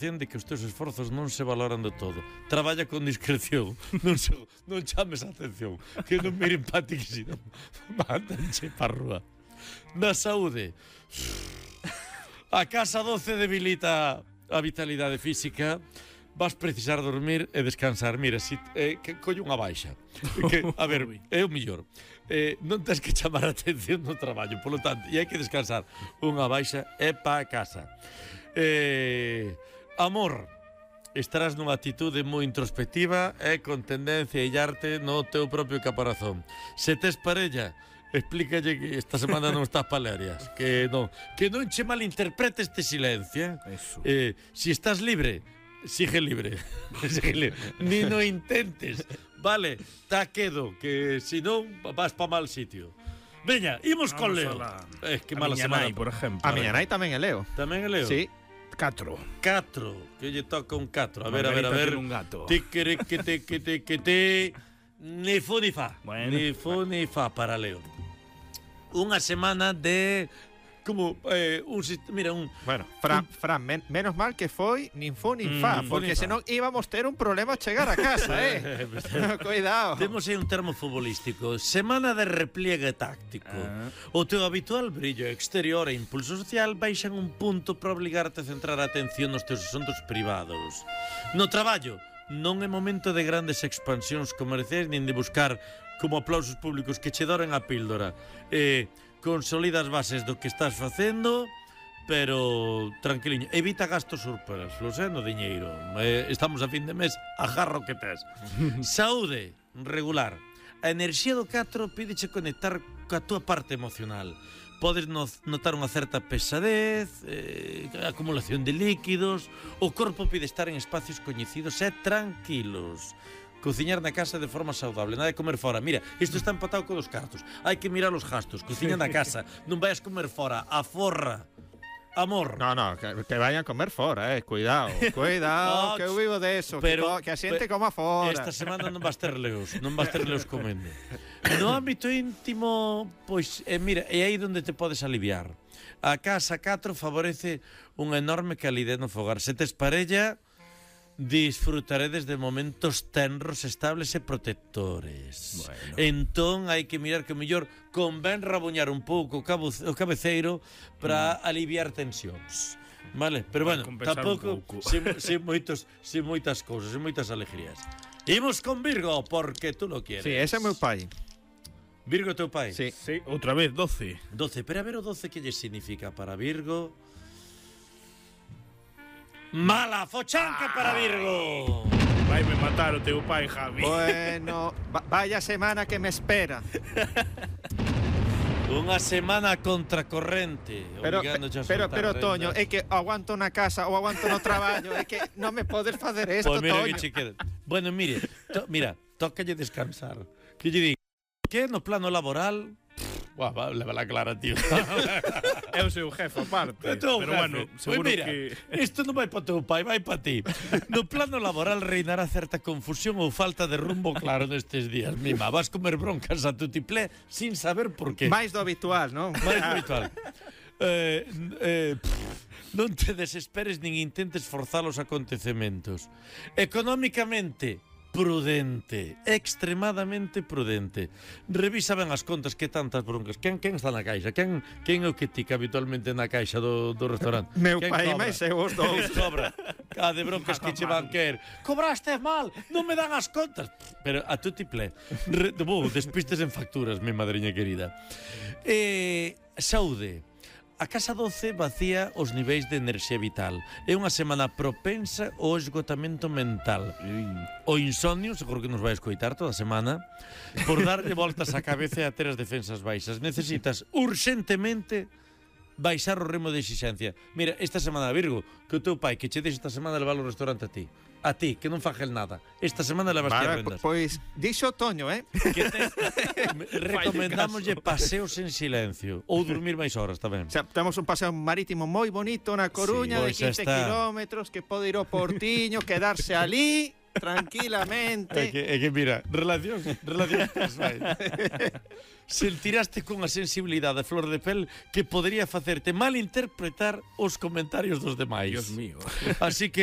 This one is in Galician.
de que os teus esforzos non se valoran do todo. Traballa con discreción, non chames a atención, que non miren pa ti, que si non mándanche pa rúa. Na saúde, a casa 12 debilita a vitalidade física, vas precisar dormir e descansar. Mira, que colle unha baixa. Que, a ver, é o mellor. Non tens que chamar a atención no traballo, polo tanto, e hai que descansar. Unha baixa é pa casa. Amor, estarás nunha actitude moi introspectiva e con tendencia a illarte no teu propio caparazón. Se tes parella, explícalle que esta semana non estás palarias, que non che malinterprete este silencio. Si estás libre, sigue libre. Ni no intentes. Vale, ta quedo, que si non vas pa mal sitio. Veña, imos con Leo. Que mala semana, por exemplo. A miña nai tamén é Leo. Tamén é Leo? Sí. 4. Que lle toca un 4. A ver. Tiene un gato. Ti. Ni fu ni fa. Bueno, ni fu ni fa para Leo. Unha semana de como mira, Bueno, Fran, menos mal que foi nin fu nin fa, porque senón íbamos ter un problema a chegar a casa, Cuidado. Temos aí un termo futbolístico. Semana de repliegue táctico. O teu habitual brillo exterior e impulso social baixan un punto para obligarte a centrar a atención nos teus asuntos privados. No traballo, non é momento de grandes expansións comerciais nin de buscar como aplausos públicos que che doren a píldora. Consolida as bases do que estás facendo, pero tranquiliño, evita gastos superfluos, no diñeiro. Estamos a fin de mes, agarra o que tes. Saúde regular. A enerxía do 4 pídeche conectar coa túa parte emocional. Podes notar unha certa pesadez, acumulación de líquidos. O corpo pide estar en espacios coñecidos e tranquilos. Cociñar na casa de forma saudable, nada de comer fora. Mira, isto está empatado con os cartos. Hai que mirar os gastos, cociña na casa. Non vayas comer fora, aforra. Amor. No, que vayan a comer fora, cuidado, que eu vivo de eso, pero, que a xente coma fora. Esta semana non vas ter leos comendo. No ámbito íntimo, pois, mira, é aí onde te podes aliviar. A casa 4 favorece unha enorme calidez no fogar. Se tes parella, disfrutaredes de momentos tenros, estables e protectores. Bueno. Entón hai que mirar que mellor convén rabuñar un pouco o cabeceiro para aliviar tensións. Vale, pero bueno, tampouco sin moitas cousas, sin moitas alegrías. Imos con Virgo, porque tú lo quieres. Sí, ese é meu pai. Virgo é teu pai? Sí, outra vez 12. Pero a ver o 12 que lle significa para Virgo. Mala fochanca para Virgo. Vaime matar o teu pai, Javi. Bueno, vaya semana que me espera. Unha semana contracorrente. Pero Toño, é que aguanto na casa ou aguanto no traballo, é que non me podes facer isto, pues mira, Toño. Bueno, mire, tócalle descansar. Que lle digo, que no plano laboral... Lévala clara, tío. É o seu jefe, aparte. Pero bueno, seguro pues mira, que... Isto non vai para teu pai, vai para ti. No plano laboral reinará certa confusión ou falta de rumbo claro nestes días. Mima, vas comer broncas a tutiplé sin saber por qué. Mais do habitual, non? Mais do habitual. Non te desesperes nin intentes forzar os acontecementos. Económicamente, prudente, extremadamente prudente. Revisa ben as contas, que tantas broncas. Quen está na caixa? Quen é o que tica habitualmente na caixa do restaurante? Meu pai máis eu os dous. Cobra. Cada de broncas que che van querer. Cobraste mal, non me dan as contas. Pero a tu tiplé. Despistes en facturas, mi madriña querida. Saúde. A casa 12 vacía os niveis de enerxía vital. É unha semana propensa ao esgotamento mental. O insomnio, seguro que nos vai escoitar toda a semana, por darlle voltas á cabeza e a ter as defensas baixas. Necesitas urxentemente baixar o remo de exixencia. Mira, esta semana, Virgo, que o teu pai que che deixe esta semana levar ao restaurante a ti, que non faje nada. Esta semana levas ti a prendas. Pois, dixo Toño, que recomendámoslle paseos en silencio ou dormir máis horas tamén. O sea, temos un paseo marítimo moi bonito na Coruña, de 15 kilómetros, que pode ir ao Portiño, quedarse ali tranquilamente. É que mira, relacións persoais. Sentiraste cunha sensibilidade a flor de pel que podría facerte malinterpretar os comentarios dos demais. Dios mío. Así que